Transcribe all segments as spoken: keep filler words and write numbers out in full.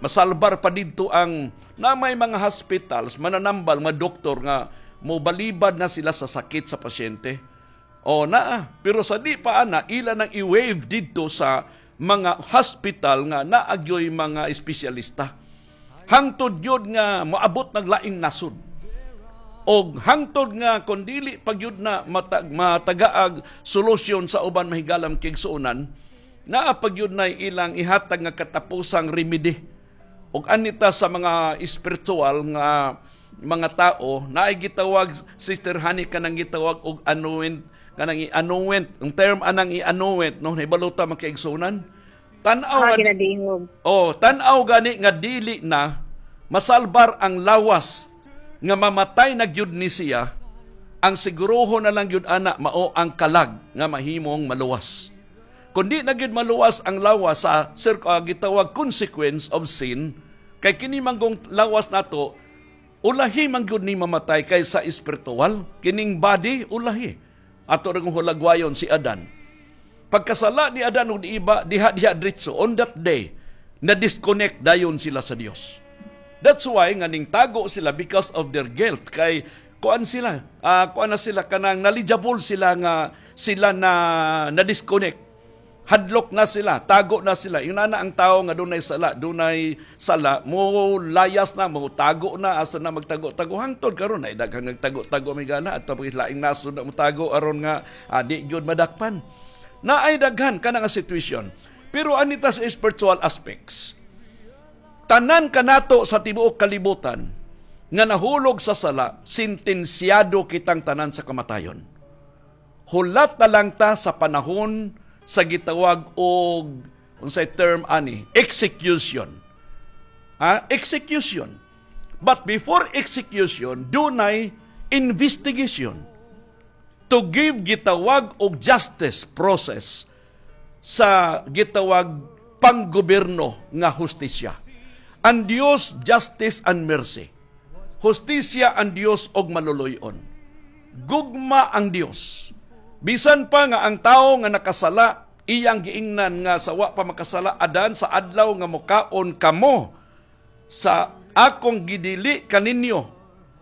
Masalbar pa didto ang na may mga hospitals, mananambal, mga doktor nga mobalibad na sila sa sakit sa pasyente. O naa, pero sa di pa ana, ila nang i-waive didto sa mga hospital nga naagyoy mga espesyalista. Hangtod yun nga moabot naglaing nasod. Og hangtod nga kon dili pag yun na matag, matagaag solusyon sa uban, mahigalam kigsuonan, naa pag yun na ilang ihatag nga katapusang remedy. Og anita sa mga spiritual nga mga tao, naay gitawag, Sister Honey, kanang gitawag og anoint, kanang i-anoint, ang term anang i-anoint, no? Nahibalo ta, mga kaigsuonan, tan-aw Ah, nga ginadingog. Oh, tan-aw gani nga dili na masalbar ang lawas, nga mamatay na gyud ni siya, ang siguruho na lang gyud ana mao ang kalag nga mahimong maluwas. Kung di na gyud maluwas ang lawas sa sir, uh, gitawag consequence of sin, kay kini manggong lawas nato ulahi man gyud ni mamatay kaysa espiritual. Kining body ulahi. Ato ra hulagwayon si Adan. Pagkasala ni Adan ug ni Eva, diha diha diretso on that day na disconnect dayon sila sa Dios. That's why nga ning tago sila because of their guilt, kay kuan sila, uh, kuan na sila, kanang knowledgeable sila nga sila na na disconnect. Hadlok na sila, tago na sila. Yun na ang tao nga dunay sala, dunay sala, mo layas na, mo tago na, asa na magtago-tago. Hangtod karon ay daghang nagtago-tago, may gana at tapos laing nasod na mo tago aron nga uh, di gyud madakpan. Na ay daghan kana nga situation. Pero anita sa spiritual aspects, tanan kanato sa tibuok kalibutan nga nahulog sa sala, sentensyado kitang tanan sa kamatayon. Hulat na lang ta sa panahon sa gitawag og, unsay term ani, execution. Ha? Execution. But before execution, dunay investigation to give gitawag og justice process sa gitawag panggobyerno nga hustisya. Ang Dios, justice and mercy. Hustisya ang Dios og maluluyon. Gugma ang Dios. Bisan pa nga ang tao nga nakasala, iyang giingnan nga sa wa pa makasala Adan, "Sa adlaw nga mukaon kamo sa akong gidili kaninyo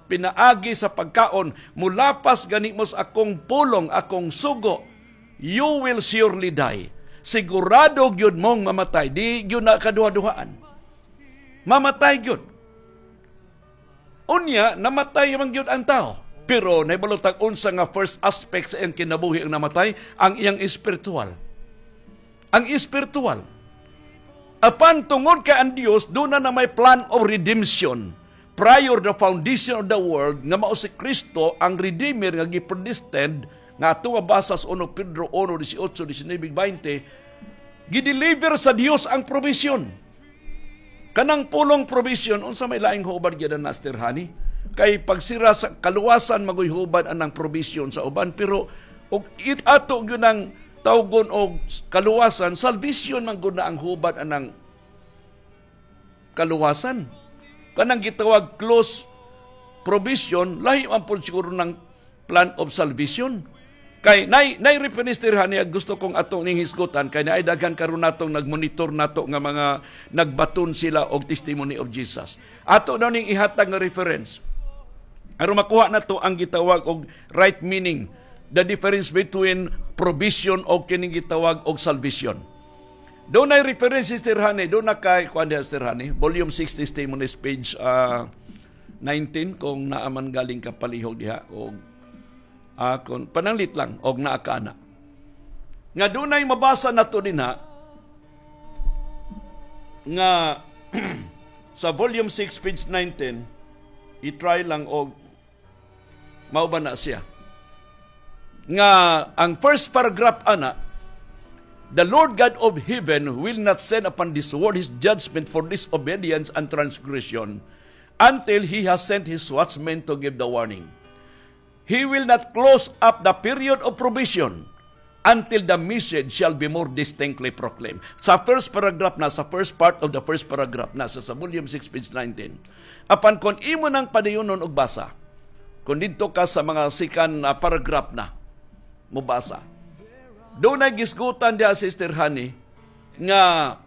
pinaagi sa pagkaon, mulapas gani mo sa akong pulong, akong sugo, you will surely die." Sigurado gyud mong mamatay, di gyud na kaduha-duhaan. Mamatay gyud. Unya, namatay man gyud ang tao. Pero nahibalo tag unsa nga first aspect sa iyang kinabuhi ang namatay? Ang iyang espiritual. Ang espiritual. Apan tungod kay ang Dios doon na, na may plan of redemption prior the foundation of the world nga mao si Kristo ang Redeemer nga gi-predestined nga ato mabasa sa Unang Pedro one, eighteen, nineteen, twenty, gideliver sa Dios ang provision. Kanang pulong provision, unsa may laing hubad gyud na, Sister Honey? Kay pagsira sa kaluwasan magoy hubad anang provision sa uban, pero og it ato gyud ang tawgon og kaluwasan, salvation man gud na ang hubad anang kaluwasan. Kanang gitawag close provision, lahi man pud siguro ng plan of salvation. Kay nay nay reference niya gusto kong atong ning hisgutan, kay naay daghan karon natong nagmonitor nato nga mga nagbaton sila og testimony of Jesus. Ato daw ning ihatag nga reference. Aron makuha nato ang gitawag og right meaning, the difference between provision o kining gitawag og salvation. Doon ay reference, Sister Honey, doon na kay kuan diha, Sister Honey, volume six, Testimonies, page uh, nineteen, kung naaman galing ka palihog diha og uh, kung pananglit lang og naa ka ana. Nga dunay mabasa nato dinha nga sa volume six page nineteen, i-try lang og mao ba na siya nga ang first paragraph ana, "The Lord God of heaven will not send upon this world his judgment for disobedience and transgression until he has sent his watchmen to give the warning. He will not close up the period of provision until the message shall be more distinctly proclaimed." Sa first paragraph na, sa first part of the first paragraph na, sa, sa volume six, page nineteen. Apan kung imo nang padayonon og basa, kung didto ka sa mga second uh, paragraph na, mobasa. Doon ay gisgutan diya, Sister Honey, nga